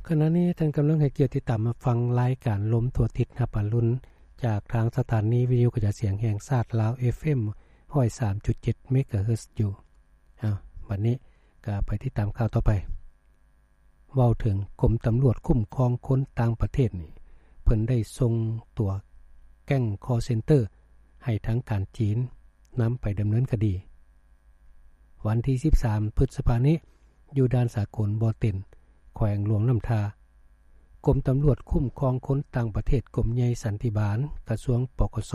ຂະນະນີ້ທ່ານກຳລັງໃຫ້ກຽດຕິດຕາມຮັບຟັງລາຍການລົມທົ່ວທິດຮັບອາລຸນ ຈາກທາງສະຖານີວິທະຍຸກະຈາຍສຽງແຫ່ງຊາດລາວ ເອຟເອັມ ຮ້ອຍສາມຈຸດເຈັດ ເມກາເຮີດຢູ່. ເອົາ ບັດນີ້ກໍໄປຕິດຕາມຂ່າວຕໍ່ໄປ. ເວົ້າເຖິງກົມຕຳຫຼວດຄຸ້ມຄອງຄົນຕ່າງປະເທດນີ້ ເພິ່ນໄດ້ສົ່ງຕົວແກ້ງຄໍເຊັນເຕີໃຫ້ທາງການຈີນນຳໄປດຳເນີນຄະດີ. ວັນທີສິບສາມ ພຶດສະພານີ້ ຢູ່ດ່ານສາກົນບໍ່ເຕັນ ແຂວງຫຼວງນ້ຳທາ, ກົມຕຳຫຼວດຄຸ້ມຄອງຄົນຕ່າງປະເທດ ກົມໃຫຍ່ສັນຕິບານ ກະຊວງ ປກສ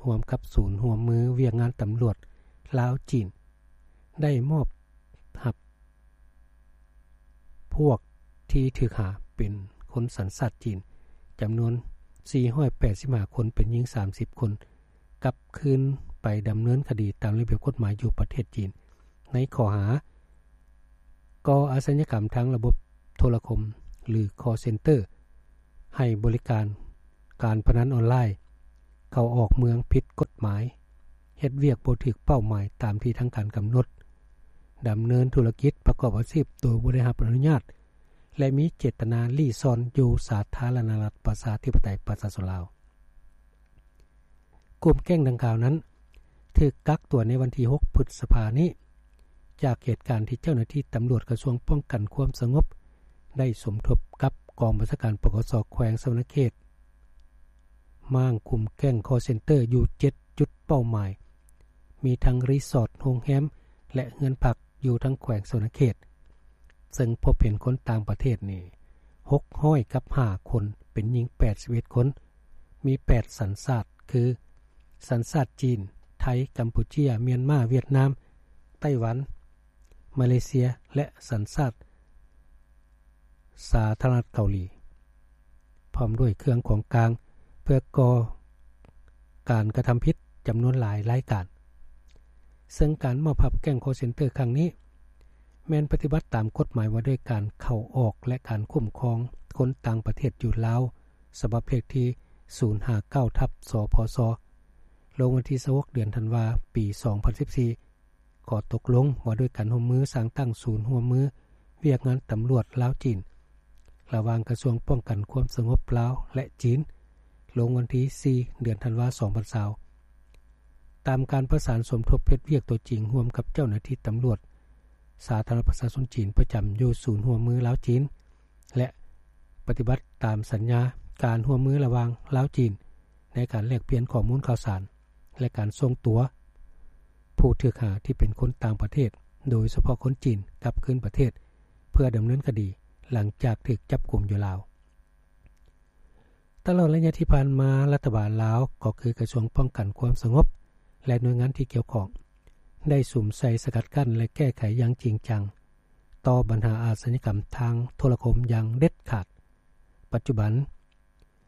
ຮ່ວມກັບສູນຮ່ວມມືວຽກງານຕຳຫຼວດລາວ-ຈີນ ໄດ້ມອບຮັບພວກທີ່ຖືກຫາເປັນຄົນສັນຊາດຈີນ ຈຳນວນສີ່ຮ້ອຍແປດສິບຫ້າຄົນ ເປັນຍິງສາມສິບຄົນ ກັບຄືນໄປດຳເນີນຄະດີຕາມລະບຽບກົດໝາຍຢູ່ປະເທດຈີນ ໃນຂໍ້ຫາກໍ່ອາຊະຍາກຳທາງລະບົບໂທລະຄົມ ຫຼື ຄໍເຊັນເຕີ ໃຫ້ບໍລິການການພະນັນອອນລາຍ, ເຂົ້າອອກເມືອງຜິດກົດໝາຍ, ເຮັດວຽກບໍ່ຖືກເປົ້າໝາຍຕາມທີ່ທາງການກຳນົດ, ດຳເນີນທຸລະກິດປະກອບອາຊີບໂດຍບໍ່ໄດ້ຮັບອະນຸຍາດ ແລະ ມີເຈດຕະນາລີ້ຊ່ອນຢູ່ສາທາລະນະລັດ ປະຊາທິປະໄຕ ປະຊາຊົນລາວ. ກຸ່ມແກ້ງດັ່ງກ່າວນັ້ນ ຖືກກັກຕົວໃນວັນທີຫົກ ພຶດສະພານີ້ ຈາກເຫດການທີ່ເຈົ້າໜ້າທີ່ຕຳຫຼວດກະຊວງປ້ອງກັນຄວາມສະຫງົບ ໄດ້ສົມທົບກັບກອງບັນຊາການ ປກສ ແຂວງສະຫວັນນະເຂດ ມ້າງຄຸມແກ້ງຄໍເຊັນເຕີຢູ່ເຈັດຈຸດເປົ້າໝາຍ, ມີທັງຣີສອດ, ໂຮງແຮມ ແລະ ເຮືອນພັກຢູ່ທັງແຂວງສະຫວັນນະເຂດ, ເຊິ່ງພົບເຫັນຄົນຕ່າງປະເທດນີ້ ຫົກຮ້ອຍກັບຫ້າຄົນ, ເປັນຍິງແປດສິບເອັດຄົນ, ມີແປດສັນຊາດ ຄື ສັນຊາດຈີນ, ໄທ, ກຳປູເຈຍ, ມຽນມາ, ຫວຽດນາມ, ໄຕ້ຫວັນ, ມາເລເຊຍ ແລະ ສັນຊາດສາທາລະນະລັດເກົາຫຼີ, ພ້ອມດ້ວຍເຄື່ອງຂອງກາງເພື່ອກໍ່ການກະທຳຜິດຈຳນວນຫຼາຍລາຍການ. ເຊິ່ງການມອບຮັບແກ້ງຄໍເຊັນເຕີຄັ້ງນີ້ ແມ່ນປະຕິບັດຕາມກົດໝາຍວ່າດ້ວຍການເຂົ້າອອກ ແລະ ການຄຸ້ມຄອງຄົນຕ່າງປະເທດຢູ່ລາວ ສະບັບເລກທີສູນຫ້າເກົ້າ ທັບ ສພສ ລົງວັນທີຊາວຫົກ ເດືອນທັນວາ ປີສອງພັນສິບສີ່, ຂໍ້ຕົກລົງວ່າດ້ວຍການຮ່ວມມືສ້າງຕັ້ງສູນຮ່ວມມືວຽກງານຕຳຫຼວດລາວ-ຈີນ ລະຫວ່າງກະຊວງປ້ອງກັນຄວາມສະຫງົບລາວ ແລະ ຈີນ ລົງວັນທີສີ່ ເດືອນທັນວາ ສອງພັນຊາວ ຕາມການປະສານສົມທົບເຮັດວຽກຕົວຈິງຮ່ວມກັບເຈົ້າໜ້າທີ່ຕຳຫຼວດສາທາລະນະລັດປະຊາຊົນຈີນ ປະຈຳຢູ່ສູນຮ່ວມມືລາວ-ຈີນ ແລະ ປະຕິບັດຕາມສັນຍາການຮ່ວມມືລະຫວ່າງລາວ-ຈີນ ໃນການແລກປ່ຽນຂໍ້ມູນຂ່າວສານ ແລະ ການສົ່ງຕົວຜູ້ຖືກຫາທີ່ເປັນຄົນຕ່າງປະເທດ, ໂດຍສະເພາະຄົນຈີນ, ກັບຄືນປະເທດ ເພື່ອດຳເນີນຄະດີ ຫຼັງຈາກຖືກຈັບກຸມຢູ່ລາວ. ຕະຫຼອດໄລຍະທີ່ຜ່ານມາ, ລັດຖະບານລາວ ກໍຄືກະຊວງປ້ອງກັນຄວາມສະຫງົບ ແລະ ໜ່ວຍງານທີ່ກ່ຽວຂ້ອງ ໄດ້ສຸມໃສ່ສະກັດກັ້ນ ແລະ ແກ້ໄຂຢ່າງຈິງຈັງ ຕໍ່ບັນຫາອາຊະຍາກຳທາງໂທລະຄົມຢ່າງເດັດຂາດ. ປັດຈຸບັນ,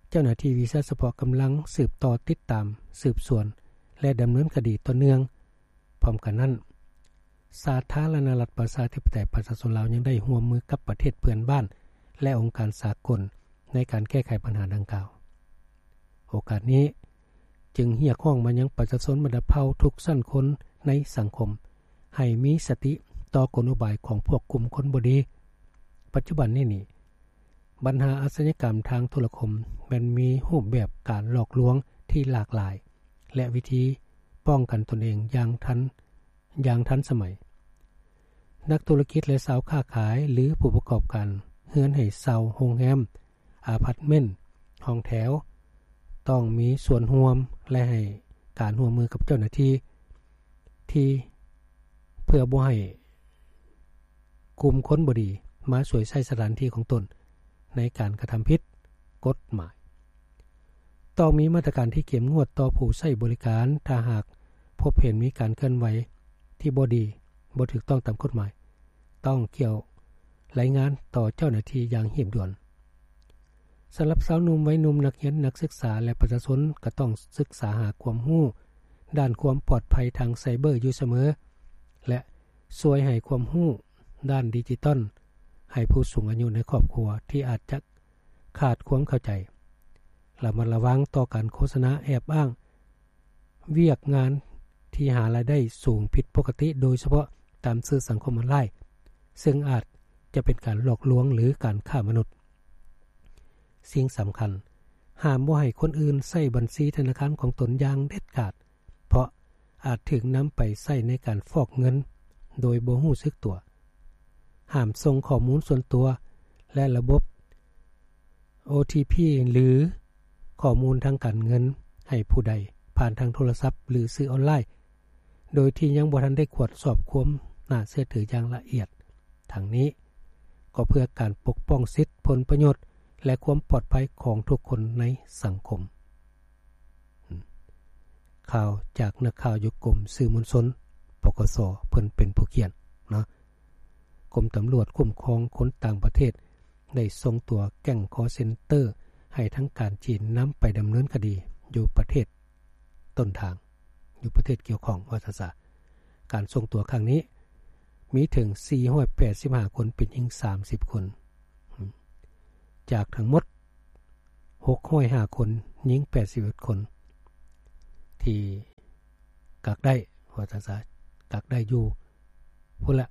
ເຈົ້າໜ້າທີ່ວິຊາສະເພາະກຳລັງສືບຕໍ່ຕິດຕາມ, ສືບສວນ ແລະ ດຳເນີນຄະດີຕໍ່ເນື່ອງ. ພ້ອມກັນນັ້ນ, ສາທາລະນະລັດປະຊາທິປະໄຕປະຊາຊົນລາວ ຍັງໄດ້ຮ່ວມມືກັບປະເທດເພື່ອນບ້ານ ແລະ ອົງການສາກົນ ໃນການແກ້ໄຂບັນຫາດັ່ງກ່າວ. ໂອກາດນີ້ ຈຶ່ງຮຽກຮ້ອງມາຍັງປະຊາຊົນບັນດາເຜົ່າທຸກຊັ້ນຄົນໃນສັງຄົມ ໃຫ້ມີສະຕິຕໍ່ກົນອຸບາຍຂອງພວກກຸ່ມຄົນບໍ່ດີ. ປັດຈຸບັນນີ້ນີ້, ບັນຫາອາຊະຍາກຳທາງໂທລະຄົມແມ່ນມີຮູບແບບການຫຼອກລວງທີ່ຫຼາກຫຼາຍ ແລະ ວິທີປ້ອງກັນຕົນເອງຢ່າງທັນ, ຢ່າງທັນສະໄໝ. ນັກທຸລະກິດ ແລະ ຊາວຄ້າຂາຍ ຫຼື ຜູ້ປະກອບການເຮືອນໃຫ້ເຊົ່າ, ໂຮງແຮມ, ອາພາດເມັນ, ຫ້ອງແຖວ ຕ້ອງມີສ່ວນຮ່ວມ ແລະ ໃຫ້ການຮ່ວມມືກັບເຈົ້າໜ້າທີ່ ທີ່ ເພື່ອບໍ່ໃຫ້ກຸ່ມຄົນບໍ່ດີມາສວຍໃຊ້ສະຖານທີ່ຂອງຕົນໃນການກະທຳຜິດກົດໝາຍ. ຕ້ອງມີມາດຕະການທີ່ເຂັ້ມງວດຕໍ່ຜູ້ໃຊ້ບໍລິການ. ຖ້າຫາກພົບເຫັນມີການເຄື່ອນໄຫວທີ່ບໍ່ດີ, ບໍ່ຖືກຕ້ອງຕາມກົດໝາຍ, ຕ້ອງກ່ຽວລາຍງານຕໍ່ເຈົ້າໜ້າທີ່ຢ່າງຮີບດ່ວນ. ສຳລັບຊາວໜຸ່ມ, ໄວໜຸ່ມ, ນັກຮຽນ, ນັກສຶກສາ ແລະ ປະຊາຊົນ ກໍຕ້ອງສຶກສາຫາຄວາມຮູ້ດ້ານຄວາມປອດໄພທາງໄຊເບີຢູ່ສະເໝີ ແລະ ຊ່ວຍໃຫ້ຄວາມຮູ້ດ້ານດິຈິຕອນໃຫ້ຜູ້ສູງອາຍຸໃນຄອບຄົວທີ່ອາດຈະຂາດຄວາມເຂົ້າໃຈ. ລະມັດລະວັງຕໍ່ການໂຄສະນາແອບອ້າງ ວຽກງານທີ່ຫາລາຍໄດ້ສູງຜິດປົກກະຕິ, ໂດຍສະເພາະຕາມສື່ສັງຄົມອອນລາຍ, ເຊິ່ງອາດ ຈະເປັນການຫຼອກລວງ ຫຼື ການຄ້າມະນຸດ. ສິ່ງສຳຄັນ, ຫ້າມບໍ່ໃຫ້ຄົນອື່ນໃຊ້ບັນຊີທະນາຄານຂອງຕົນຢ່າງເດັດຂາດ, ເພາະອາດຖືກນຳໄປໃຊ້ໃນການຟອກເງິນໂດຍບໍ່ຮູ້ສຶກຕົວ. ຫ້າມສົ່ງຂໍ້ມູນສ່ວນຕົວ ແລະ ລະບົບ ໂອທີພີ ຫຼື ຂໍ້ມູນທາງການເງິນໃຫ້ຜູ້ໃດ ຜ່ານທາງໂທລະສັບ ຫຼື ສື່ອອນລາຍ ໂດຍທີ່ຍັງບໍ່ທັນໄດ້ກວດສອບຄວາມໜ້າເຊື່ອຖືຢ່າງລະອຽດ. ທັງນີ້ກໍເພື່ອການປົກປ້ອງສິດ, ຜົນປະໂຫຍດ ແລະ ຄວາມປອດໄພຂອງທຸກຄົນໃນສັງຄົມ. ອືມ ຂ່າວຈາກນັກຂ່າວຢູ່ກົມສື່ມວນຊົນ ປກສ ເພິ່ນເປັນຜູ້ຂຽນເນາະ. ກົມຕຳຫຼວດຄຸ້ມຄອງຄົນຕ່າງປະເທດ ໄດ້ສົ່ງຕົວແກ້ງຄໍເຊັນເຕີໃຫ້ທາງການຈີນນຳໄປດຳເນີນຄະດີຢູ່ປະເທດຕົ້ນທາງ, ຢູ່ປະເທດກ່ຽວຂ້ອງ ວ່າຊັ້ນຊະ. ການສົ່ງຕົວຄັ້ງນີ້ມີເຖິງສີ່ຮ້ອຍແປດສິບຫ້າຄົນ, ເປັນຍິງສາມສິບຄົນ, ຈາກທັງໝົດຫົກຮ້ອຍຫ້າຄົນ, ຍິງແປດສິບເອັດຄົນ ທີ່ກັກໄດ້ ວ່າຊັ້ນຊະ, ກັກໄດ້ຢູ່ພຸ້ນລະ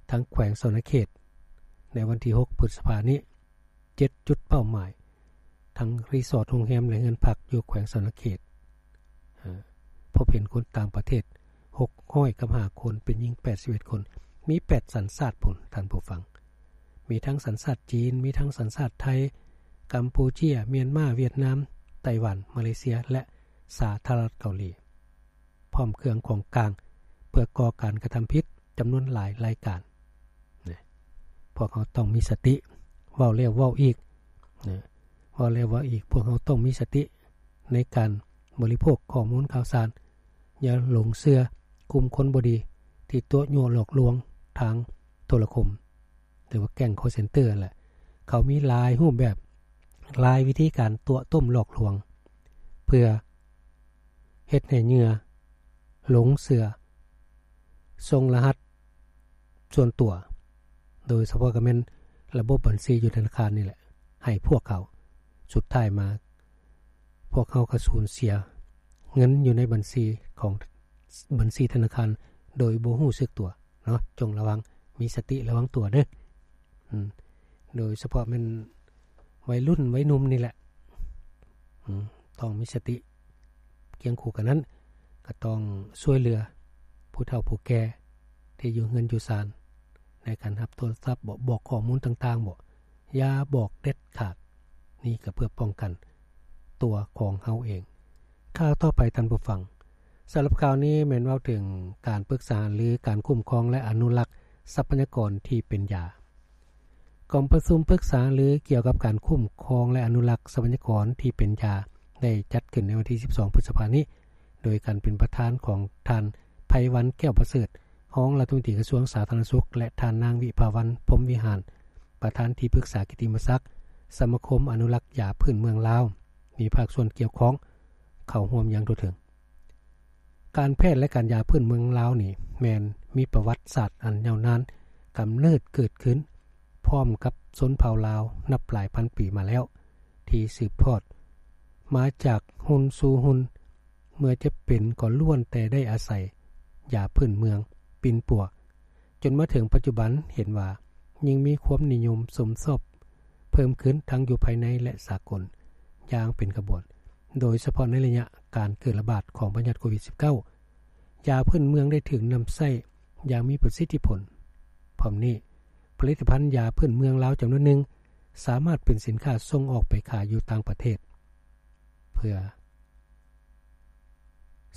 ທາງແຂວງສະຫວັນນະເຂດ ໃນວັນທີຫົກ ພຶດສະພານີ້ ເຈັດຈຸດເປົ້າໝາຍ ທັງຣີສອດ, ໂຮງແຮມ ແລະ ເຮືອນພັກຢູ່ແຂວງສະຫວັນນະເຂດ. ເອີ ພົບເຫັນຄົນຕ່າງປະເທດຫົກຮ້ອຍກັບຫ້າຄົນ, ເປັນຍິງແປດສິບເອັດຄົນ, ມີແປດສັນຊາດພຸ້ນ ທ່ານຜູ້ຟັງ. ມີທັງສັນຊາດຈີນ, ມີທັງສັນຊາດໄທ, ກຳປູເຈຍ, ມຽນມາ, ຫວຽດນາມ, ໄຕ້ຫວັນ, ມາເລເຊຍ ແລະ ສາທາລະນະລັດເກົາຫຼີ. ພ້ອມເຄື່ອງຂອງກາງເພື່ອກໍ່ການກະທຳຜິດຈຳນວນຫຼາຍລາຍການ. ນະ ພວກເຮົາຕ້ອງມີສະຕິ, ເວົ້າແລ້ວເວົ້າອີກ, ນະ ເວົ້າແລ້ວເວົ້າອີກ, ພວກເຮົາຕ້ອງມີສະຕິໃນການບໍລິໂພກຂໍ້ມູນຂ່າວສານ. ຢ່າຫຼົງເຊື່ອກຸ່ມຄົນບໍ່ດີທີ່ຕົວະຍົວະຫຼອກລວງທາງໂທລະຄົມ ຫຼືວ່າແກ້ງຄໍເຊັນເຕີຫັ້ນແຫຼະ. ເຂົາມີຫຼາຍຮູບແບບ, ຫຼາຍວິທີການຕົວະຕົ້ມຫຼອກລວງ ເພື່ອເຮັດໃຫ້ເຫຍື່ອຫຼົງເຊື່ອ, ສົ່ງລະຫັດສ່ວນຕົວ, ໂດຍສະເພາະກໍແມ່ນລະບົບບັນຊີຢູ່ທະນາຄານນີ້ແຫຼະ ໃຫ້ພວກເຂົາ. ສຸດທ້າຍມາ ພວກເຮົາກໍສູນເສຍເງິນຢູ່ໃນບັນຊີຂອງ ບັນຊີທະນາຄານໂດຍບໍ່ຮູ້ສຶກຕົວເນາະ. ຈົ່ງລະວັງ, ມີສະຕິລະວັງຕົວເດີ້. ອືມ ໂດຍສະເພາະແມ່ນໄວລຸ້ນໄວໜຸ່ມນີ້ແຫຼະ ອືມ ຕ້ອງມີສະຕິ. ຄຽງຄູ່ກັນນັ້ນ ກໍຕ້ອງຊ່ວຍເຫຼືອຜູ້ເຖົ້າຜູ້ແກ່ທີ່ຢູ່ເຮືອນຢູ່ຊານ ໃນການຮັບໂທລະສັບບໍ ບອກຂໍ້ມູນຕ່າງໆບໍ ຢ່າບອກເດັດຂາດ. ນີ້ກໍເພື່ອປ້ອງກັນຕົວຂອງເຮົາເອງ. ຂ່າວຕໍ່ໄປທ່ານຜູ້ຟັງ, ສຳລັບຂ່າວນີ້ແມ່ນເວົ້າເຖິງການປຶກສາຫາລືການຄຸ້ມຄອງ ແລະ ອະນຸລັກຊັບພະຍາກອນທີ່ເປັນຢາ. ກອງປະຊຸມປຶກສາຫາລືກ່ຽວກັບການຄຸ້ມຄອງ ແລະ ອະນຸລັກຊັບພະຍາກອນທີ່ເປັນຢາ ໄດ້ຈັດຂຶ້ນໃນວັນທີສິບສອງ ພຶດສະພານີ້ ໂດຍການເປັນປະທານຂອງທ່ານ ໄພວັນ ແກ້ວປະເສີດ ຮອງລັດຖະມົນຕີກະຊວງສາທາລະນະສຸກ ແລະ ທ່ານນາງ ວິພາວັນ ພົມວິຫານ ປະທານທີ່ປຶກສາກິດຕິມະສັກສະມາຄົມອະນຸລັກຢາພື້ນເມືອງລາວ, ມີພາກສ່ວນກ່ຽວຂ້ອງເຂົ້າຮ່ວມຢ່າງທົ່ວເຖິງ. ການແພດ ແລະ ການຢາພື້ນເມືອງລາວນີ້ ແມ່ນມີປະຫວັດສາດອັນຍາວນານ, ກຳເນີດເກີດຂຶ້ນພ້ອມກັບຊົນເຜົ່າລາວນັບຫຼາຍພັນປີມາແລ້ວ, ທີ່ສືບທອດມາຈາກຮຸ່ນສູ່ຮຸ່ນ, ເມື່ອເຈັບເປັນກໍລ້ວນແຕ່ໄດ້ອາໄສຢາພື້ນເມືອງປິ່ນປົວ, ຈົນມາເຖິງປັດຈຸບັນເຫັນວ່າຍິ່ງມີຄວາມນິຍົມຊົມຊອບເພີ່ມຂຶ້ນທັງຢູ່ພາຍໃນ ແລະ ສາກົນຢ່າງເປັນຂະບວນ, ໂດຍສະເພາະໃນໄລຍະການເກີດລະບາດຂອງພະຍາດໂຄວິດສິບເກົ້າ ຢາພື້ນເມືອງໄດ້ຖືກນຳໃຊ້ຢ່າງມີປະສິດທິຜົນ. ພ້ອມນີ້, ຜະລິດຕະພັນຢາພື້ນເມືອງລາວຈຳນວນໜຶ່ງ ສາມາດເປັນສິນຄ້າສົ່ງອອກໄປຂາຍຢູ່ຕ່າງປະເທດ ເພື່ອ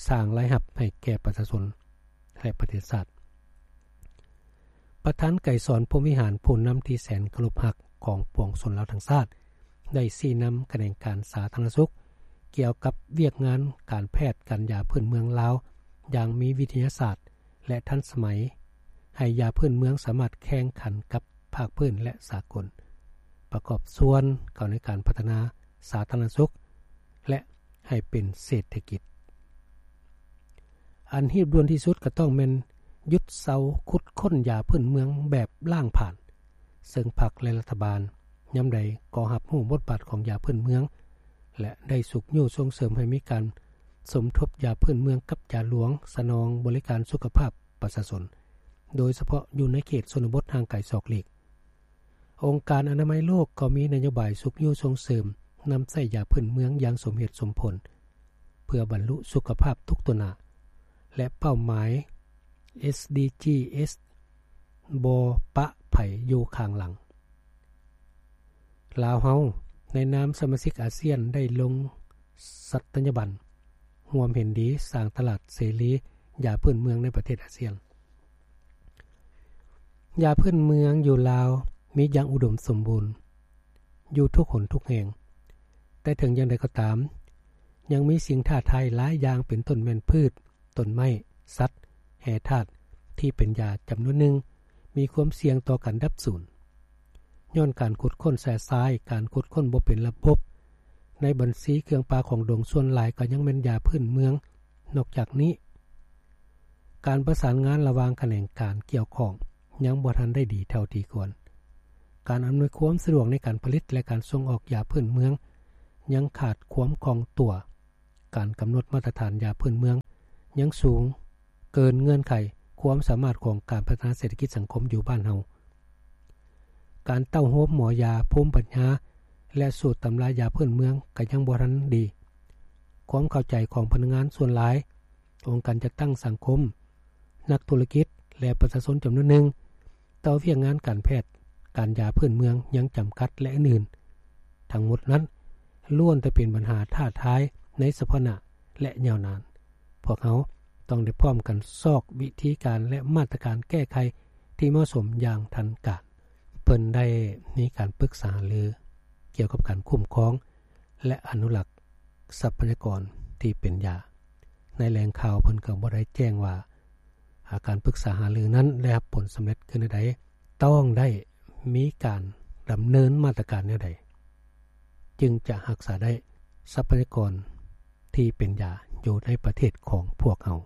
ສ້າງລາຍຮັບໃຫ້ແກ່ປະຊາຊົນ ແລະ ປະເທດຊາດ. ປະທານໄກສອນ ພົມວິຫານ, ຜູ້ນຳທີ່ແສນເຄົາລົບຮັກຂອງປວງຊົນລາວທັງຊາດ, ໄດ້ຊີ້ນຳຂະແໜງການສາທາລະນະສຸກ ກ່ຽວກັບວຽກງານການແພດການຢາພື້ນເມືອງລາວຢ່າງມີວິທະຍາສາດ ແລະ ທັນສະໄໝ, ໃຫ້ຢາພື້ນເມືອງສາມາດແຂ່ງຂັນກັບພາກພື້ນ ແລະ ສາກົນ, ປະກອບສ່ວນເຂົ້າໃນການພັດທະນາສາທາລະນະສຸກ ແລະ ໃຫ້ເປັນເສດຖະກິດ. ອັນຮີບດ່ວນທີ່ສຸດກໍຕ້ອງແມ່ນຢຸດເຊົາຂຸດຄົ້ນຢາພື້ນເມືອງແບບລ້າງຜານ, ເຊິ່ງພັກ ແລະ ລັດຖະບານຍາມໃດກໍຮັບຮູ້ບົດບາດຂອງຢາພື້ນເມືອງ ແລະ ໄດ້ຊຸກຍູ້ສົ່ງເສີມໃຫ້ມີການສົມທົບຢາພື້ນເມືອງກັບຢາຫຼວງ ສະໜອງບໍລິການສຸຂະພາບປະຊາຊົນ, ໂດຍສະເພາະຢູ່ໃນເຂດຊົນນະບົດຫ່າງໄກສອກຫຼີກ, ອົງການອະນາໄມໂລກກໍມີນະໂຍບາຍຊຸກຍູ້ສົ່ງເສີມນຳໃຊ້ຢາພື້ນເມືອງຢ່າງສົມເຫດສົມຜົນ ເພື່ອບັນລຸສຸຂະພາບທຸກຕົວໜ້າ ແລະ ເປົ້າໝາຍ ເອສ ດີ ຈີ ເອສ ບໍ່ປະໃຜຢູ່ຂ້າງຫຼັງ. ລາວເຮົາໃນນາມສະມາຊິກອາຊຽນໄດ້ລົງສັດຕະຍາບັນຮ່ວມເຫັນດີສ້າງຕະຫຼາດເສລີຢາພື້ນເມືອງໃນປະເທດອາຊຽນ. ຢາພື້ນເມືອງຢູ່ລາວມີຢ່າງອຸດົມສົມບູນຢູ່ທຸກຫົນທຸກແຫ່ງ, ແຕ່ເຖິງຢ່າງໃດກໍຕາມ, ຍັງມີສິ່ງທ້າທາຍຫຼາຍຢ່າງ ເປັນຕົ້ນແມ່ນພືດ, ຕົ້ນໄມ້, ສັດ, ແຮ່ທາດທີ່ເປັນຢາຈຳນວນໜຶ່ງ ມີຄວາມສ່ຽງຕໍ່ການດັບສູນ. ຍ້ອນການຂຸດຄົ້ນແຊຊາຍ, ການຂຸດຄົ້ນບໍ່ເປັນລະບົບ, ໃນບັນຊີເຄື່ອງປ່າຂອງດົງສ່ວນຫຼາຍກໍຍັງແມ່ນຢາພື້ນເມືອງ. ນອກຈາກນີ້, ການປະສານງານລະຫວ່າງຂະແໜງການກ່ຽວຂ້ອງຍັງບໍ່ທັນໄດ້ດີເທົ່າທີ່ຄວນ. ການອຳນວຍຄວາມສະດວກໃນການຜະລິດ ແລະ ການສົ່ງອອກຢາພື້ນເມືອງຍັງຂາດຄວາມຄ່ອງຕົວ. ການກຳນົດມາດຕະຖານຢາພື້ນເມືອງຍັງສູງເກີນເງື່ອນໄຂຄວາມສາມາດຂອງການພັດທະນາເສດຖະກິດສັງຄົມຢູ່ບ້ານເຮົາ. ການເຕົ້າໂຮມໝໍຢາ, ພູມປັນຍາ ແລະ ສູດຕຳລາຢາພື້ນເມືອງກໍຍັງບໍ່ທັນດີ. ຄວາມເຂົ້າໃຈຂອງພະນັກງານສ່ວນຫຼາຍ, ອົງການຈັດຕັ້ງສັງຄົມ, ນັກທຸລະກິດ ແລະ ປະຊາຊົນຈຳນວນໜຶ່ງ ຕໍ່ວຽກງານການແພດ, ການຢາພື້ນເມືອງຍັງຈຳກັດ ແລະ ອື່ນໆ. ທັງໝົດນັ້ນລ້ວນແຕ່ເປັນບັນຫາທ້າທາຍໃນສະເພາະໜ້າ ແລະ ຍາວນານ. ພວກເຮົາຕ້ອງໄດ້ພ້ອມກັນຊອກວິທີການ ແລະ ມາດຕະການແກ້ໄຂທີ່ເໝາະສົມຢ່າງທັນການ. ເພິ່ນໄດ້ມີການປຶກສາຫາລືກ່ຽວກັບການຄຸ້ມຄອງ ແລະ ອະນຸລັກຊັບພະຍາກອນທີ່ເປັນຢາ. ໃນແຫຼ່ງຂ່າວເພິ່ນກໍບໍ່ໄດ້ແຈ້ງວ່າ ອາ ການປຶກສາຫາລືນັ້ນໄດ້ຮັບຜົນສຳເລັດຄືແນວໃດ, ຕ້ອງໄດ້ມີການດຳເນີນມາດຕະການແນວໃດ ຈຶ່ງຈະຮັກສາໄດ້ຊັບພະຍາກອນທີ່ເປັນຢາຢູ່ໃນປະເທດຂອງພວກເຮົາ.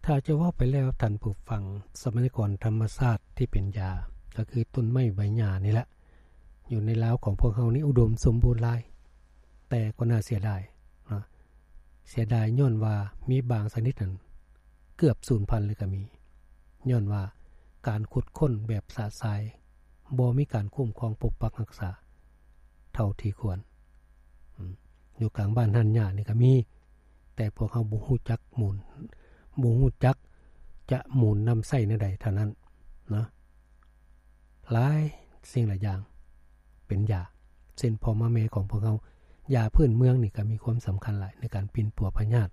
ຖ້າຈະເວົ້າໄປແລ້ວທ່ານຜູ້ຟັງ, ຊັບພະຍາກອນທຳມະຊາດທີ່ເປັນຢາ ກໍຄືຕົ້ນໄມ້ໃບຫຍ້ານີ້ແຫຼະ, ຢູ່ໃນລາວຂອງພວກເຮົານີ້ອຸດົມສົມບູນຫຼາຍ, ແຕ່ກໍໜ້າເສຍດາຍເນາະ, ເສຍດາຍຍ້ອນວ່າມີບາງຊະນິດນັ້ນເກືອບສູນພັນເລີຍກໍມີ, ຍ້ອນວ່າການຂຸດຄົ້ນແບບຊະຊາຍ ບໍ່ມີການຄຸ້ມຄອງປົກປັກຮັກສາເທົ່າທີ່ຄວນ. ອືມ ຢູ່ກາງບ້ານຮ້ານຫຍ້ານີ້ກໍມີ, ແຕ່ພວກເຮົາບໍ່ຮູ້ຈັກມູນ, ບໍ່ຮູ້ຈັກຈະມູນນຳໃຊ້ແນວໃດເທົ່ານັ້ນເນາະ. ຫຼາຍສິ່ງຫຼາຍຢ່າງເປັນຢາ ເຊັ່ນພໍ່ມາແມ່ຂອງພວກເຮົາ, ຢາພື້ນເມືອງນີ້ກໍມີຄວາມສຳຄັນຫຼາຍໃນການປິ່ນປົວພະຍາດ,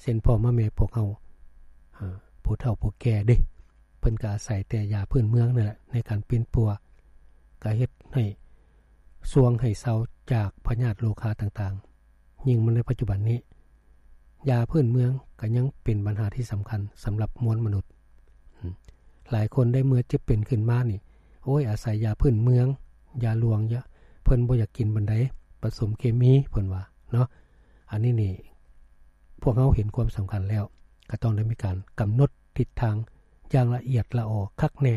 ເຊັ່ນພໍ່ມາແມ່ພວກເຮົາ, ອາ, ຜູ້ເຖົ້າຜູ້ແກ່ເດ້, ເພິ່ນກໍອາໄສແຕ່ຢາພື້ນເມືອງນັ້ນແຫຼະໃນການປິ່ນປົວ, ກໍເຮັດໃຫ້ຊ່ວງໃຫ້ເຊົາຈາກພະຍາດໂລຄາຕ່າງໆ. ຍິ່ງມາໃນປັດຈຸບັນນີ້, ຢາພື້ນເມືອງກໍຍັງເປັນບັນຫາທີ່ສຳຄັນສຳລັບມວນມະນຸດ. ອືມ ຫຼາຍຄົນໄດ້ເມື່ອເຈັບເປັນຂຶ້ນມານີ້, ໂອ້ຍ, ອາໄສຢາພື້ນເມືອງ, ຢາຫຼວງ, ຢາ, ເພິ່ນບໍ່ຢາກກິນປານໃດ, ປະສົມເຄມີ, ເພິ່ນວ່າເນາະ. ອັນນີ້ນີ້ ພວກເຮົາເຫັນຄວາມສຳຄັນແລ້ວ, ກໍຕ້ອງໄດ້ມີການກຳນົດທິດທາງຢ່າງລະອຽດລະອໍຄັກແນ່,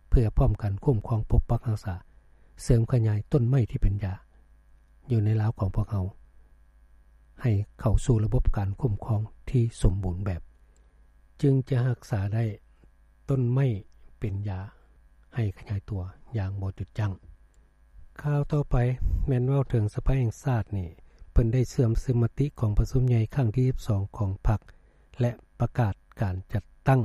ເພື່ອພ້ອມກັນຄຸ້ມຄອງປົກປັກຮັກສາ, ເສີມຂະຫຍາຍຕົ້ນໄມ້ທີ່ເປັນຢາ ຢູ່ໃນລາວຂອງພວກເຮົາ ໃຫ້ເຂົ້າສູ່ລະບົບການຄຸ້ມຄອງທີ່ສົມບູນແບບ, ຈຶ່ງຈະຮັກສາໄດ້ຕົ້ນໄມ້ເປັນຢາໃຫ້ຂະຫຍາຍຕົວຢ່າງບໍ່ຢຸດຢັ້ງ. ຂ່າວຕໍ່ໄປແມ່ນເວົ້າເຖິງສະພາແຫ່ງຊາດນີ້, ເພິ່ນໄດ້ເຊື່ອມຊຶມມະຕິກອງປະຊຸມໃຫຍ່ຄັ້ງທີສິບສອງຂອງພັກ ແລະ ປະກາດການຈັດຕັ້ງ.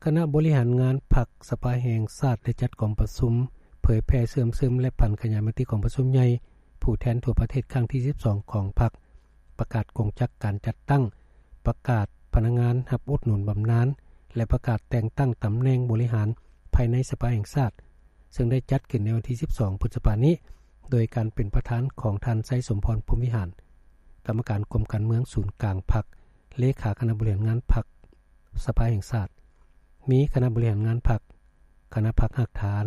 ຄະນະບໍລິຫານງານພັກສະພາແຫ່ງຊາດໄດ້ຈັດກອງປະຊຸມເຜີຍແຜ່ເຊື່ອມຊຶມ ແລະ ຜັນຂະຫຍາຍມະຕິກອງປະຊຸມໃຫຍ່ຜູ້ແທນທົ່ວປະເທດຄັ້ງທີສິບສອງຂອງພັກ, ປະກາດກົງຈັກການຈັດຕັ້ງ, ປະກາດພະນັກງານຮັບອຸດໜູນບຳນານ ແລະ ປະກາດແຕ່ງຕັ້ງຕຳແໜ່ງບໍລິຫານພາຍໃນສະພາແຫ່ງຊາດ, ເຊິ່ງໄດ້ຈັດຂຶ້ນໃນວັນທີສິບສອງ ພຶດສະພານີ້, ໂດຍການເປັນປະທານຂອງທ່ານ ໄຊສົມພອນ ພົມວິຫານ, ກຳມະການກົມການເມືອງສູນກາງພັກ, ເລຂາຄະນະບໍລິຫານງານພັກ ສະພາແຫ່ງຊາດ, ມີຄະນະບໍລິຫານງານພັກ, ຄະນະພັກຮາກຖານ,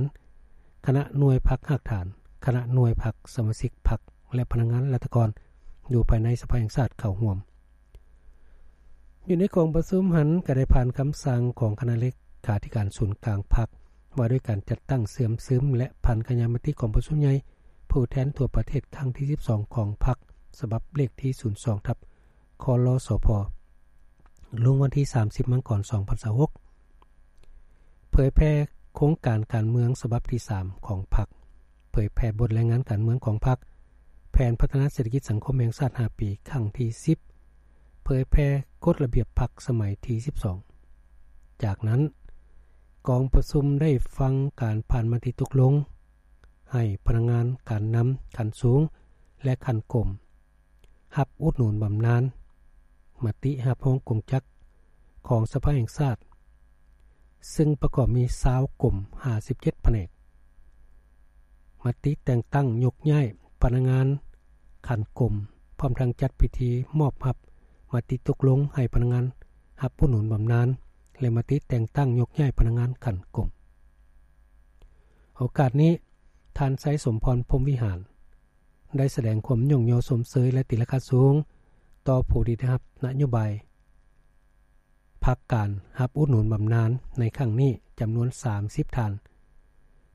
ຄະນະໜ່ວຍພັກຮາກຖານ, ຄະນະໜ່ວຍພັກ, ສະມາຊິກພັກ ແລະ ພະນັກງານລັດຖະກອນຢູ່ພາຍໃນສະພາແຫ່ງຊາດເຂົ້າຮ່ວມ. ຢູ່ໃນກອງປະຊຸມຫັ້ນ ກໍໄດ້ຜ່ານຄຳສັ່ງຂອງຄະນະເລຂາທິການສູນກາງພັກ ວ່າດ້ວຍການຈັດຕັ້ງເຊື່ອມຊຶມ ແລະ ຜັນຂະຫຍາຍມະຕິກອງປະຊຸມໃຫຍ່ຜູ້ແທນທົ່ວປະເທດຄັ້ງທີສິບສອງຂອງພັກ ສະບັບເລກທີສູນສອງ ທັບ ຄລສພ ລົງວັນທີສາມສິບ ມັງກອນ ສອງພັນຊາວຫົກ. ເຜີຍແຜ່ ໂຄງການການເມືອງສະບັບທີສາມຂອງພັກ, ເຜີຍແຜ່ບົດລາຍງານການເມືອງຂອງພັກ, ແຜນພັດທະນາເສດຖະກິດສັງຄົມແຫ່ງຊາດຫ້າປີຄັ້ງທີສິບ, ເຜີຍແຜ່ກົດລະບຽບພັກສະໄໝທີສິບສອງ. ຈາກນັ້ນ, ກອງປະຊຸມໄດ້ຟັງການຜ່ານມະຕິຕົກລົງ ໃຫ້ພະນັກງານການນຳຂັ້ນສູງ ແລະ ຂັ້ນກົມ ຮັບອຸດໜູນບຳນານ, ມະຕິຮັບຮອງກົງຈັກຂອງສະພາແຫ່ງຊາດ, ຊຶ່ງປະກອບມີຊາວກົມ ຫ້າສິບເຈັດພະແນກ, ມະຕິແຕ່ງຕັ້ງຍົກຍ້າຍພະນັກງານຂັ້ນກົມ, ພ້ອມທັງຈັດພິທີມອບຮັບມະຕິຕົກລົງໃຫ້ພະນັກງານຮັບອຸດໜູນບຳນານ ແລະ ມະຕິແຕ່ງຕັ້ງຍົກຍ້າຍພະນັກງານຂັ້ນກົມ. ໂອກາດນີ້, ທ່ານ ໄຊສົມພອນ ພົມວິຫານ ໄດ້ສະແດງຄວາມຍ້ອງຍໍຊົມເຊີຍ ແລະ ຕີລາຄາສູງຕໍ່ຜູ້ທີ່ໄດ້ຮັບນະໂຍບາຍພັກການຮັບອຸດໜູນບຳນານໃນຄັ້ງນີ້ ຈຳນວນສາມສິບທ່ານ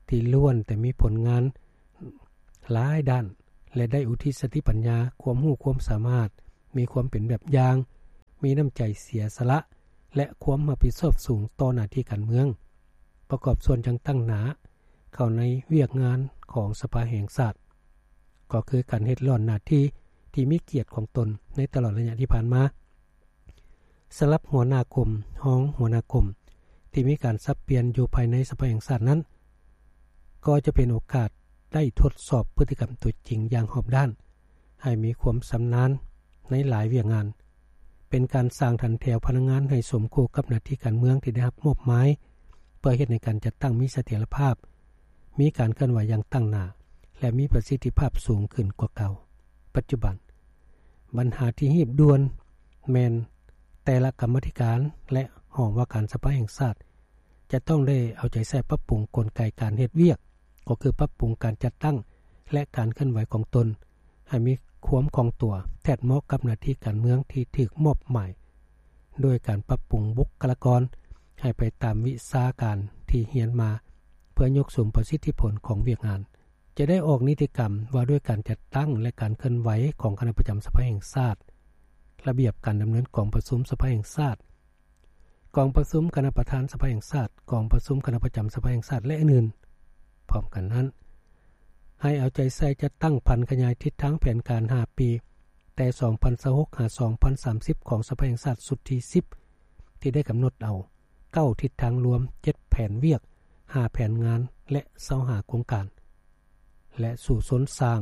ທີ່ລ້ວນແຕ່ມີຜົນງານຫຼາຍດ້ານ ແລະ ໄດ້ອຸທິດສະຕິປັນຍາ, ຄວາມຮູ້ຄວາມສາມາດ, ມີຄວາມເປັນແບບຢ່າງ, ມີນ້ຳໃຈເສຍສະຫຼະ ແລະ ຄວາມຮັບຜິດຊອບສູງຕໍ່ໜ້າທີ່ການເມືອງ, ປະກອບສ່ວນຢ່າງຕັ້ງໜ້າເຂົ້າໃນວຽກງານຂອງສະພາແຫ່ງຊາດ, ກໍຄືການເຮັດລ້ອນໜ້າທີ່ທີ່ມີກຽດຂອງຕົນໃນຕະຫຼອດໄລຍະທີ່ຜ່ານມາ. ສຳລັບຫົວໜ້າກົມ, ຮອງຫົວໜ້າກົມ ທີ່ມີການສັບປ່ຽນຢູ່ພາຍໃນສະພາແຫ່ງຊາດນັ້ນ, ກໍຈະເປັນໂອກາດໄດ້ທົດສອບພຶດຕິກຳຕົວຈິງຢ່າງຮອບດ້ານ, ໃຫ້ມີຄວາມຊຳນານໃນຫຼາຍວຽກງານ, ເປັນການສ້າງຖັນແຖວພະນັກງານໃຫ້ສົມຄູ່ກັບໜ້າທີ່ການເມືອງທີ່ໄດ້ຮັບມອບໝາຍ, ເພື່ອເຮັດໃຫ້ການຈັດຕັ້ງມີສະຖຽນລະພາບ, ມີການເຄື່ອນໄຫວຢ່າງຕັ້ງໜ້າ ແລະ ມີປະສິດທິພາບສູງຂຶ້ນກວ່າເກົ່າ. ປັດຈຸບັນ, ບັນຫາທີ່ຮີບດ່ວນແມ່ນແຕ່ລະກຳມາທິການ ແລະ ຫ້ອງວ່າການສະພາແຫ່ງຊາດ ຈະຕ້ອງໄດ້ເອົາໃຈໃສ່ປັບປຸງກົນໄກການເຮັດວຽກ, ກໍຄືປັບປຸງການຈັດຕັ້ງ ແລະ ການເຄື່ອນໄຫວຂອງຕົນ ໃຫ້ມີຄວາມຄ່ອງຕົວ, ແທດເໝາະກັບໜ້າທີ່ການເມືອງທີ່ຖືກມອບໝາຍ, ໂດຍການປັບປຸງບຸກຄະລາກອນໃຫ້ໄປຕາມວິຊາການທີ່ຮຽນມາ, ເພື່ອຍົກສູງປະສິດທິຜົນຂອງວຽກງານ. ຈະໄດ້ອອກນິຕິກຳວ່າດ້ວຍການຈັດຕັ້ງ ແລະ ການເຄື່ອນໄຫວຂອງຄະນະປະຈຳສະພາແຫ່ງຊາດ, ລະບຽບການດຳເນີນກອງປະຊຸມສະພາແຫ່ງຊາດ, ກອງປະຊຸມຄະນະປະທານສະພາແຫ່ງຊາດ, ກອງປະຊຸມຄະນະປະຈຳສະພາແຫ່ງຊາດ ແລະ ອື່ນໆ. ພ້ອມກັນນັ້ນ, ໃຫ້ເອົາໃຈໃສ່ຈັດຕັ້ງຜັນຂະຫຍາຍທິດທາງແຜນການຫ້າປີ, ແຕ່ສອງພັນຊາວຫົກ ຫາ ສອງພັນສາມສິບ ຂອງສະພາແຫ່ງຊາດຊຸດທີສິບ ທີ່ໄດ້ກຳນົດເອົາເກົ້າທິດທາງລວມ, ເຈັດແຜນວຽກ, ຫ້າແຜນງານ ແລະ ຊາວຫ້າໂຄງການ ແລະ ສູ້ຊົນສ້າງ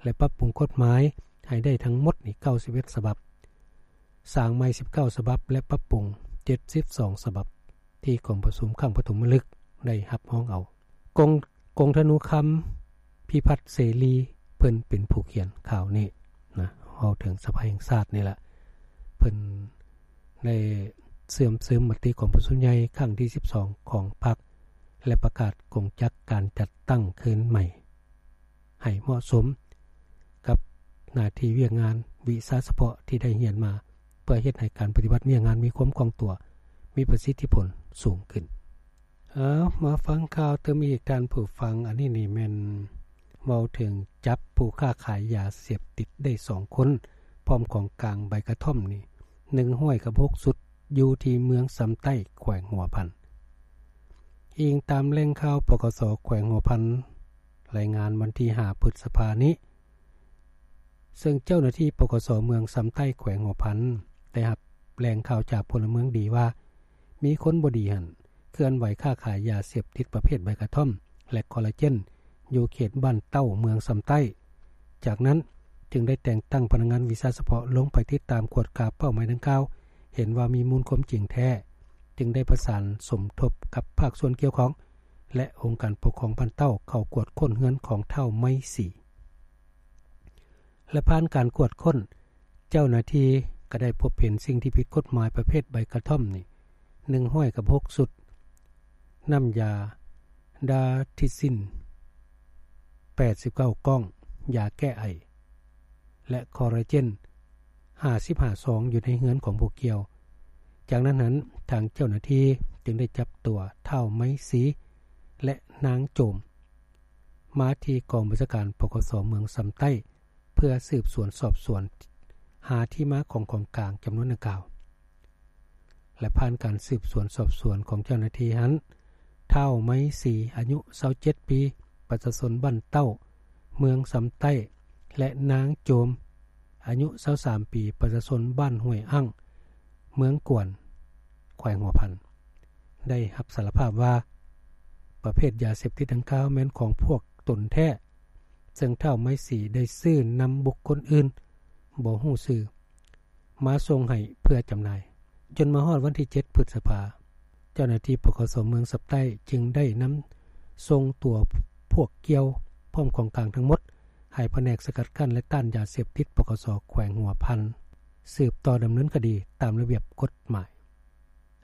ແລະ ປັບປຸງກົດໝາຍໃຫ້ໄດ້ທັງໝົດນີ້ເກົ້າສິບເອັດສະບັບ, ສ້າງໃໝ່ສິບເກົ້າສະບັບ ແລະ ປັບປຸງເຈັດສິບສອງສະບັບ ທີ່ກອງປະຊຸມຄັ້ງປະຖົມມະລຶກໄດ້ຮັບຮອງເອົາ. ກົງ ກົງທະນູຄຳ ພິພັດເສລີ ເພິ່ນເປັນຜູ້ຂຽນຂ່າວນີ້ນະ, ເວົ້າເຖິງສະພາແຫ່ງຊາດນີ້ລະ, ເພິ່ນໄດ້ເຊື່ອມຊຶມມະຕິກອງປະຊຸມໃຫຍ່ຄັ້ງທີສິບສອງຂອງພັກ ແລະ ປະກາດກົງຈັກການຈັດຕັ້ງຄືນໃໝ່ ໃຫ້ເໝາະສົມກັບໜ້າທີ່ວຽກງານວິຊາສະເພາະທີ່ໄດ້ຮຽນມາ, ເພື່ອເຮັດໃຫ້ການປະຕິບັດວຽກງານມີຄວາມຄ່ອງຕົວ, ມີປະສິດທິຜົນສູງຂຶ້ນ. ເອົາ ມາຟັງຂ່າວຕື່ມອີກທ່ານຜູ້ຟັງ. ອັນນີ້ນີ້ແມ່ນເວົ້າເຖິງຈັບຜູ້ຄ້າຂາຍຢາເສບຕິດໄດ້ສອງຄົນ ພ້ອມຂອງກາງໃບກະທ່ອມນີ້ ໜຶ່ງຮ້ອຍກັບຫົກຊຸດ ຢູ່ທີ່ເມືອງຊຳໃຕ້ ແຂວງຫົວພັນ. ອີງຕາມແຫຼ່ງຂ່າວ ປກສ ແຂວງຫົວພັນ ລາຍງານວັນທີຫ້າ ພຶດສະພານີ້, ເຊິ່ງເຈົ້າໜ້າທີ່ ປກສ ເມືອງຊຳໃຕ້ ແຂວງຫົວພັນ ໄດ້ຮັບແຫຼ່ງຂ່າວຈາກພົນລະເມືອງດີວ່າ ມີຄົນບໍ່ດີຫັ້ນ ເຄື່ອນໄຫວຄ້າຂາຍຢາເສບຕິດປະເພດໃບກະທ່ອມ ແລະ ຄໍລາເຈນ ຢູ່ເຂດບ້ານເຕົ້າ ເມືອງຊຳໃຕ້. ຈາກນັ້ນຈຶ່ງໄດ້ແຕ່ງຕັ້ງພະນັກງານວິຊາສະເພາະລົງໄປຕິດຕາມກວດກາເປົ້າໝາຍດັ່ງກ່າວ, ເຫັນວ່າມີມູນຄວາມຈິງແທ້, ຈຶ່ງໄດ້ປະສານສົມທົບກັບພາກສ່ວນກ່ຽວຂ້ອງ ແລະ ອົງການປົກຄອງບ້ານເຕົ້າ ເຂົ້າກວດຄົ້ນເຮືອນຂອງທ້າວໄມສີ. ແລະ ຜ່ານການກວດຄົ້ນ, ເຈົ້າໜ້າທີ່ກໍໄດ້ພົບເຫັນສິ່ງທີ່ຜິດກົດໝາຍປະເພດໃບກະທ່ອມນີ້ ໜຶ່ງຮ້ອຍກັບຫົກຊຸດ, ນ້ຳຢາດາທິຊິນ ແປດສິບເກົ້າກ້ອງ, ຢາແກ້ໄອ ແລະ ຄໍລາເຈນ ຫ້າສິບຫ້າຊອງ ຢູ່ໃນເຮືອນຂອງຜູ້ກ່ຽວ. ຈາກນັ້ນຫັ້ນ, ທາງເຈົ້າໜ້າທີ່ຈຶ່ງໄດ້ຈັບຕົວທ້າວໄມສີ ແລະ ນາງໂຈມ ມາທີ່ກອງບັນຊາການ ປກສ ເມືອງຊຳໃຕ້ ເພື່ອສືບສວນສອບສວນຫາທີ່ມາຂອງຂອງກາງຈຳນວນດັ່ງກ່າວ ແລະ ຜ່ານການສືບສວນສອບສວນຂອງເຈົ້າໜ້າທີ່ຫັ້ນ, ທ້າວ ໄມສີ ອາຍຸ ຊາວເຈັດປີ ປະຊາຊົນບ້ານເຕົ້າ ເມືອງຊຳໃຕ້ ແລະ ນາງ ໂຈມ ອາຍຸ ຊາວສາມປີ ປະຊາຊົນບ້ານຫ້ວຍອັ້ງ ເມືອງກວນ ແຂວງຫົວພັນ ໄດ້ຮັບສາລະພາບວ່າ ປະເພດຢາເສບຕິດດັ່ງກ່າວແມ່ນຂອງພວກຕົນແທ້ ເຊິ່ງທ້າວ ໄມສີ ໄດ້ຊື້ນຳບຸກຄົນອື່ນ ບໍ່ຮູ້ຊື່ ມາສົ່ງໃຫ້ເພື່ອຈຳໜ່າຍ. ຈົນມາຮອດວັນທີເຈັດ ພຶດສະພາ ເຈົ້າໜ້າທີ່ ປກສ ເມືອງຊຳໃຕ້ ຈຶ່ງໄດ້ນຳສົ່ງຕົວພວກກ່ຽວ ພ້ອມຂອງກາງທັງໝົດ ໃຫ້ພະແນກສະກັດກັ້ນ ແລະ ຕ້ານຢາເສບຕິດ ປກສ ແຂວງຫົວພັນ ສືບຕໍ່ດຳເນີນຄະດີຕາມລະບຽບກົດໝາຍ.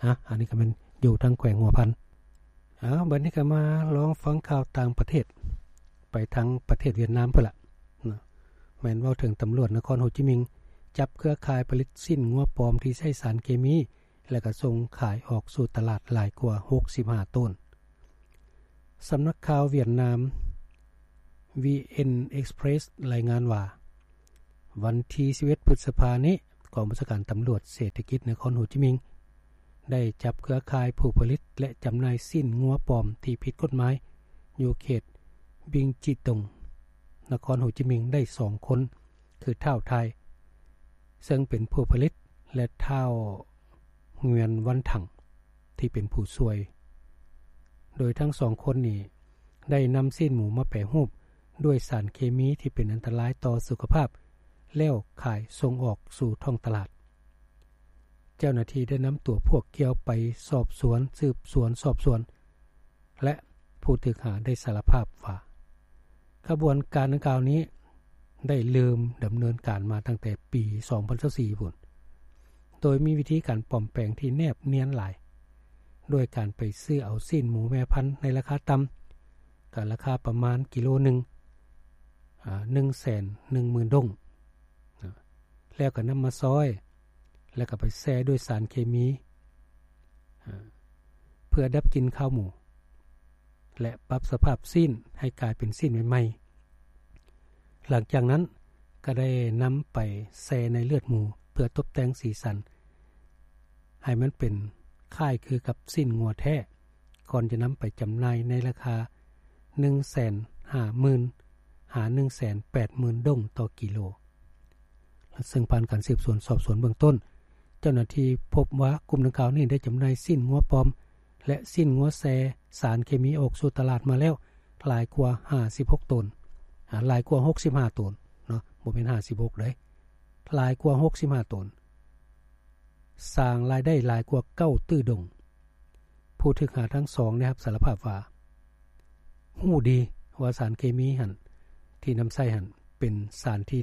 ອາ ອັນນີ້ກໍແມ່ນຢູ່ທາງແຂວງຫົວພັນ. ເອົາ ບັດນີ້ກໍມາລອງຟັງຂ່າວຕ່າງປະເທດ ໄປທາງປະເທດຫວຽດນາມພຸ້ນລະເນາະ. ແມ່ນເວົ້າເຖິງຕຳຫຼວດນະຄອນໂຮຈິມິງ ຈັບເຄືອຂ່າຍຜະລິດຊີ້ນງົວປອມທີ່ໃຊ້ສານເຄມີ ແລະ ກໍສົ່ງຂາຍອອກສູ່ຕະຫຼາດຫຼາຍກວ່າຫົກສິບຫ້າໂຕນ. ສຳນັກຂ່າວຫວຽດນາມ VN Express ລາຍງານວ່າ ວັນທີສິບເອັດ ພຶດສະພານີ້ ກອງບັນຊາການຕຳຫຼວດເສດຖະກິດນະຄອນໂຮຈິມິງ ໄດ້ຈັບເຄືອຂ່າຍຜູ້ຜະລິດ ແລະ ຈຳໜ່າຍຊີ້ນງົວປອມທີ່ຜິດກົດໝາຍ ຢູ່ເຂດບິງຈິຕົງ ນະຄອນໂຮຈິມິງ ໄດ້ສອງຄົນ ຄືທ້າວ ທາຍ ເຊິ່ງເປັນຜູ້ຜະລິດ ແລະ ທ້າວ ງວຽນ ວັນຖັງ ທີ່ເປັນຜູ້ຊ່ວຍ, ໂດຍທັງສອງຄົນນີ້ໄດ້ນຳຊີ້ນໝູມາແປຮູບດ້ວຍສານເຄມີທີ່ເປັນອັນຕະລາຍຕໍ່ສຸຂະພາບ ແລ້ວຂາຍສົ່ງອອກສູ່ທ້ອງຕະຫຼາດ. ເຈົ້າໜ້າທີ່ໄດ້ນຳຕົວພວກກ່ຽວໄປສອບສວນ, ສືບສວນສອບສວນ ແລະ ຜູ້ຖືກຫາໄດ້ສາລະພາບວ່າ ຂະບວນການດັ່ງກ່າວນີ້ໄດ້ເລີ່ມດຳເນີນການມາຕັ້ງແຕ່ປີສອງພັນຊາວສີ່ພຸ້ນ ໂດຍມີວິທີການປອມແປງທີ່ແນບນຽນຫຼາຍ ດ້ວຍການໄປຊື້ເອົາຊີ້ນໝູແມ່ພັນໃນລາຄາຕ່ຳ ກໍລາຄາປະມານກິໂລໜຶ່ງ ອາ ໜຶ່ງແສນໜຶ່ງໝື່ນດົງ ນະ ແລ້ວກໍນຳມາຊອຍ ແລ້ວກໍໄປແຊ່ດ້ວຍສານເຄມີ ອາ ເພື່ອດັບກິ່ນຄາວໝູ ແລະ ປັບສະພາບຊີ້ນໃຫ້ກາຍເປັນຊີ້ນໃໝ່ໆ. ຫຼັງຈາກນັ້ນກໍໄດ້ນຳໄປແຊ່ໃນເລືອດໝູ ເພື່ອຕົບແຕ່ງສີສັນໃຫ້ມັນເປັນຄ້າຍຄືກັບຊີ້ນງົວແທ້ ກ່ອນຈະນຳໄປຈຳໜ່າຍໃນລາຄາໜຶ່ງແສນຫ້າໝື່ນຫາໜຶ່ງແສນແປດໝື່ນດົງຕໍ່ກິໂລ. ເຊິ່ງຜ່ານການສືບສວນສອບສວນເບື້ອງຕົ້ນ, ເຈົ້າໜ້າທີ່ພົບວ່າກຸ່ມດັ່ງກ່າວນີ້ໄດ້ຈຳໜ່າຍຊີ້ນງົວປອມ ແລະ ຊີ້ນງົວແຊ່ສານເຄມີອອກສູ່ຕະຫຼາດມາແລ້ວຫຼາຍກວ່າຫ້າສິບຫົກໂຕນ, ອາ, ຫຼາຍກວ່າຫົກສິບຫ້າໂຕນເນາະ, ບໍ່ແມ່ນຫ້າສິບຫົກເດ້, ຫຼາຍກວ່າຫົກສິບຫ້າໂຕນ, ສ້າງລາຍໄດ້ຫຼາຍກວ່າເກົ້າຕື້ດົງ. ຜູ້ຖືກຫາທັງສອງໄດ້ຮັບສາລະພາບວ່າ ຮູ້ດີວ່າສານເຄມີຫັ້ນ ທີ່ນຳໃຊ້ຫັ້ນ ເປັນສານທີ່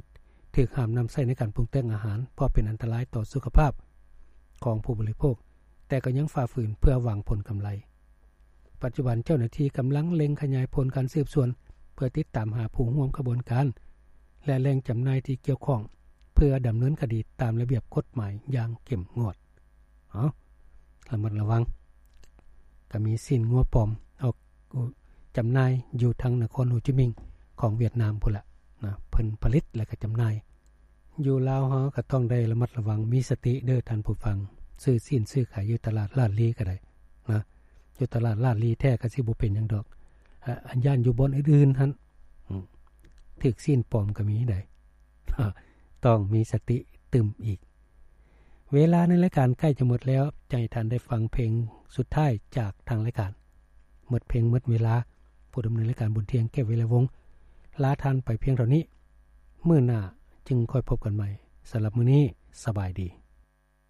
ຖືກຫ້າມນຳໃຊ້ໃນການປຸງແຕ່ງອາຫານ ເພາະເປັນອັນຕະລາຍຕໍ່ສຸຂະພາບຂອງຜູ້ບໍລິໂພກ, ແຕ່ກໍຍັງຝ່າຝືນເພື່ອຫວັງຜົນກຳໄລ. ປັດຈຸບັນເຈົ້າໜ້າທີ່ກຳລັງເລັ່ງຂະຫຍາຍຜົນການສືບສວນ ເພື່ອຕິດຕາມຫາຜູ້ຮ່ວມຂະບວນການ ແລະ ແຫຼ່ງຈຳໜ່າຍທີ່ກ່ຽວຂ້ອງ ເພື່ອດຳເນີນຄະດີຕາມລະບຽບກົດໝາຍຢ່າງເຂັ້ມງວດ. ເອົາ ລະມັດລະວັງ, ກະມີຊີ້ນງົວປອມອອກຈຳໜ່າຍຢູ່ທາງນະຄອນໂຮຈິມິງຂອງຫວຽດນາມພຸ້ນລະນະ, ເພິ່ນຜະລິດ ແລະ ກະຈຳໜ່າຍ. ຢູ່ລາວເຮົາກະຕ້ອງໄດ້ລະມັດລະວັງ, ມີສະຕິເດີທ່ານຜູ້ຟັງ, ຊື້ຊີ້ນຊື້ຂາຍຢູ່ຕະຫຼາດລາດລີກະໄດ້ນະ, ຢູ່ຕະຫຼາດລາດລີແທ້ກະຊິບໍ່ເປັນຫຍັງດອກ, ອາ, ອັນຢ້ານຢູ່ບ່ອນອື່ນໆຫັ້ນ, ອາ, ຖືກຊີ້ນປອມກະມີໃດ໋, ຕ້ອງມີສະຕິຕື່ມອີກ. ເວລາໃນລາຍການໃກ້ຈະໝົດແລ້ວ, ຈະໃຫ້ທ່ານໄດ້ຟັງເພງສຸດທ້າຍຈາກທາງລາຍການ. ໝົດເພງໝົດເວລາ, ຜູ້ດຳເນີນລາຍການບຸນທ່ຽງ ແກ້ວ ວິໄລວົງ ລາທ່ານໄປພຽງເທົ່ານີ້. ມື້ໜ້າຈຶ່ງຄ່ອຍພົບກັນໃໝ່. ສຳລັບມື້ນີ້, ສະບາຍດີ.